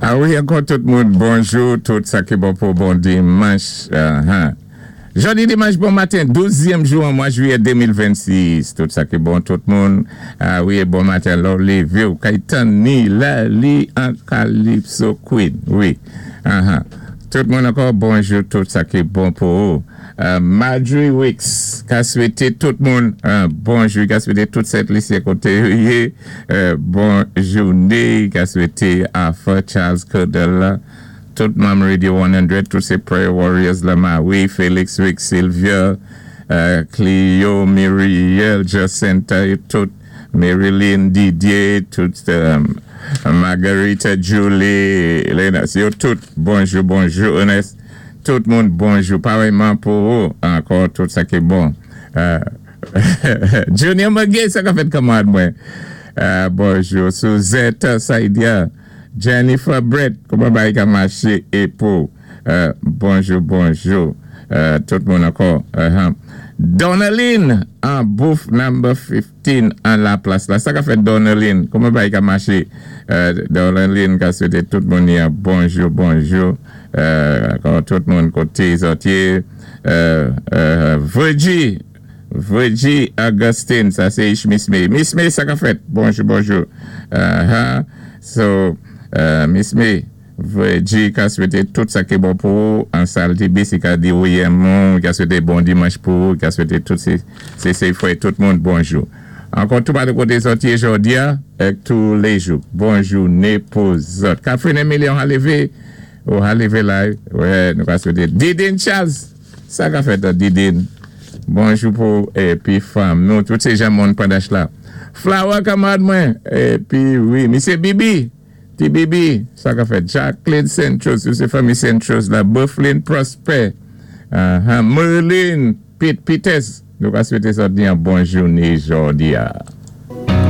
A wi, ankò tout moun, bonjou, tout sa ki bon pou bon dimanch. Jòdi dimanch bon maten, 12zièm jou an mwa jwiyè 2026. Tout sa ki bon tout moun. A wi, bon maten lò lévé ou kay tann ni la li an Calypso Queen. Wi. Tout moun ankò, bonjou, tout sa ki bon pou ou. Marjorie Wicks ka swété tout moun bonjou, ka swété tout Sent Lisyen koté yo yé bon jouné, ka swété Arthur Charles Curdell la, tout manm Radio 100, tout sé Prayer Warriors la, Marie, Felix Wicks, Sylvia, Clio, Muriel, Jacinta, tout Marilyn, Didier, tout Margarita, Julie, Lena, yo tout bonjou, bonjou, Ernest. Tout moun bonjou, parèyman pou ou, ankò tout sa ki bon. Junior Maguet, sa ka fèt kanmarad mwen. Bonjou, Suzette Saidia, Jennifer Brett, kouman bagay ka maché é pou? Bonjou, bonjou, tout moun ankò. Donaline, an booth number 15 an la plas la. Sa ka fèt Donaline, kouman bagay ka maché? Donaline ka swété tout moun yon bonjou, bonjou. Ankò tout moun koté zòt yé. Virgie, Virgie Augustine, sa sé ich Miss May. Miss May, sa ka fèt? Bonjou, bonjou. So, Miss May, Virgie ka swété tout sa ki bon pou ou an sal TBC ka di ou yè moun, ka swété bon dimanch pou ou, ka swété tout sé sé fwè tout moun bonjou. Ankò tou patou koté zòt yé jòdi a, èk tou lé jou. Bon jouné pou zòt. Catherine Emilion ha lévé, ou ha lévé la, wè nou ka swété Didine Charles, sa ka fèt Didine? Bonjou pou épi fanm nou, tout sé jan moun Pandach la. Flower kanmarad mwen, épi wi, misyé Bibi, Ti Bibi, sa ka fèt? Jacqueline Saint-Chose, tout sé fanmi Saint-Chose la, Bufflin Prosper, Merline Pete Peters, nou ka swété zòt yon bon jouné jòdi a.